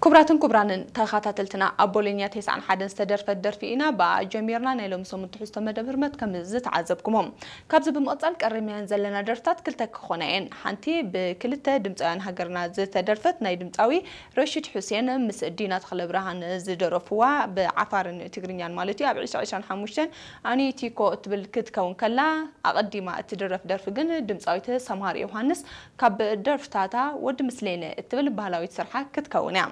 ክቡራትን ክቡራንን ተኸታተልትና፣ ኣብ ቦሎኛ ተስዓን ሓደን ዝተደርፈት ደርፊ ኢና ብኣ ጀሚርና። ናይ ሎሚ ሰሙን ትሕዝቶ መደብ ህርመት ከም ዝተዓዘብኩሞ፣ ካብዚ ብምቕጻል ቀሪምናየን ዘለና ደርፍታት ክልተ ክኾና እየን። ሓንቲ ብክልተ ድምፃውያን ሃገርና ዝተደርፈት ናይ ድምፃዊ ረሺድ ሑሴን ምስ ዲና ተኽለብርሃን ዝደረፍዋ፣ ብዓፋርን ትግርኛን ማለት እዩ፣ ኣብ ዕስራ ዕስራን ሓሙሽተን ኣኒ ቲኮ እትብል ክትከውን ከላ፣ ኣቐዲማ እትድረፍ ደርፊ ግን ድምፃዊት ሰምሃር ዮሃንስ ካብ ደርፍታታ ወዲ ምስሌነ እትብል ባህላዊት ስርሓ ክትከውን እያ።